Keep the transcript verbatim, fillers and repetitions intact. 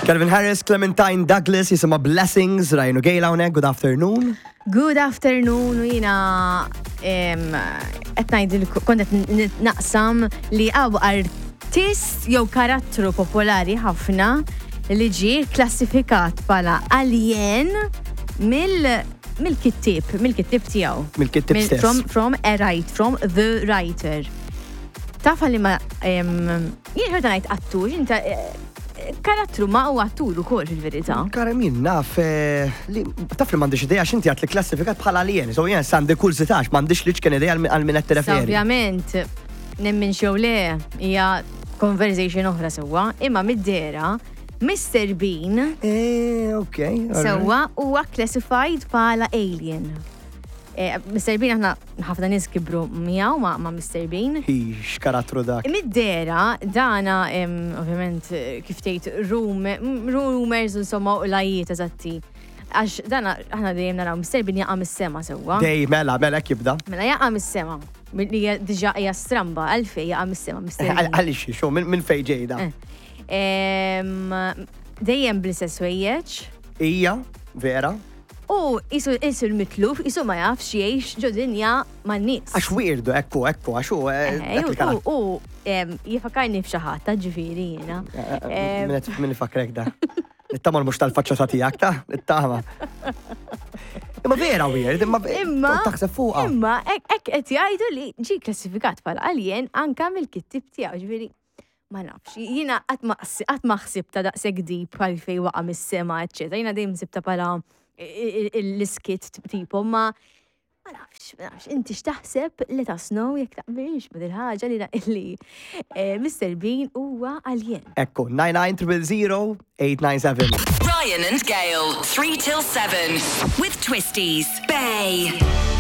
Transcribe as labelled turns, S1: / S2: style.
S1: Calvin Harris, Clementine Douglas, jisimha Blessings, Ryan u Gail hawnhekk, good afternoon.
S2: Good afternoon, u jiena qed ngħidil kont qed naqsam li hawn artist jew karattru popolari ħafna li ġie klassifikat bħala alien mill mill-kittib, mill-kittib tiegħu.
S1: Mill-kittib
S2: Mill-
S1: stess.
S2: From, from a write, from the writer. Taf li ma jien ħerta ngħid attur, inta eh, karattru ma huwa attur ukoll fil-verità.
S1: Kara min naf, eh, li taf li m'għandix idea x'inti għat li klassifikat bħala alien. So jien għandi kurżità m'għandix li ċken idea għal min qed tirreferi.
S2: Ovvjament, nemmen xew le, hija conversation oħra sewwa, imma mid-dehra, Mr. Bean
S1: Eh, ok. all right.
S2: sewwa huwa classified bħala alien. Eh, Mr. Bean aħna ħafna nies kibru miegħu ma' ma' Mr. Bean.
S1: Hi, x'karattru dak.
S2: Mid-dehra, dana, em, ovvjament, eh, kif tgħid rum- rumors insomma u lajiet eżatti. Għax dana aħna dejjem naraw Mr. Bean jaqa' mis-sema sewwa.
S1: Dej, mela, mela jibda.
S2: Mela jaqa' mis-sema. Li hija diġà hija stramba għalfejn jaqa' mis-sema Mr. Bean.
S1: Għalix, xo, minn fej ġejda.
S2: Eh. Em, Dejjem bl-istess ħwejjeġ.
S1: Ija, vera.
S2: U isu isu l-mitluf, isu ma jafx jgħix ġo dinja man-nies.
S1: Għax weirdo, ekku, ekku, għax u. eh,
S2: Eh,
S1: dak
S2: U
S1: il-karattru.
S2: u, em, jifakarni f'xi ħadd ta' ġifieri jiena. Em,
S1: Min min ifakrek da. Nittama mhux tal-faċċata tiegħek ta' nittama. Imma vera weird, imma
S2: Imma
S1: taħseb fuqha.
S2: Imma hekk hekk qed jgħidu li ġi klassifikat bħala alien anka mill-kittib tiegħu, ġifieri ma nafx. Jiena qatt ma qatt ma ħsibta daqshekk deep bħal fejn waqa' mis-sema, eċċetera. Jiena dejjem sibta bħala l-iskit tipo, ma ma nafx, ma nafx, inti x'taħseb let us know jekk taqbilx ma dil-ħaġa li li eh, Mr. Bean huwa alien.
S1: Ekku, nine nine zero zero eight nine seven.
S3: Ryan and Gail, three till seven with Twisties. Bay.